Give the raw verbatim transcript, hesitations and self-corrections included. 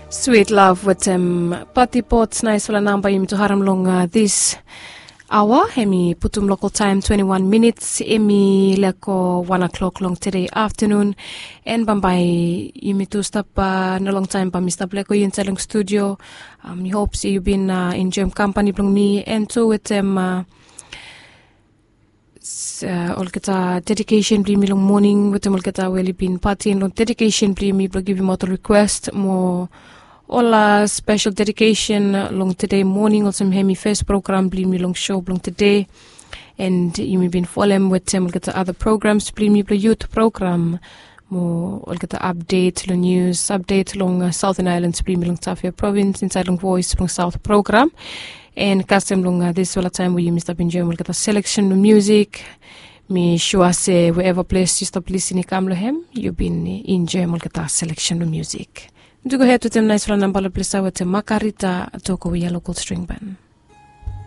Swit lav wetem pati pots naisfala namba yumi tu harim long dis aoa. Em i putum lokal taem twenti wan minits, em i leko wan o'klok long tede aftanun. En bambae yumi tu stap, no long taem bae mi stap leko yu insaed long studio. Mi hop se yu bin enjoem kampani blong mi, en tu wetem olgeta dedikesen blong yumi long moning wetem olgeta we oli bin patin long dedikesen blong yumi blong givim aot ol rikwes mo ol spesel dedikesen long tede moning olsem hem i fes program blong yumi long so blong tede. En yumi bin folem wetem olgeta ada programs blong yumi blong yut program mo olgeta apdet long nius, apdet long saoten aelans blong yumi long tafia provins insaed long voes blong saot program. En kasem long disfala taem we yumi stap enjoem olgeta seleksen blong musik, mi sua se wherever ples yu stap lisin i kam long hem, yu bin enjoem olgeta seleksen blong musik. Mi tu gohed wetem naisfala namba long ples ya wetem makarita toko we ya lokal string ban.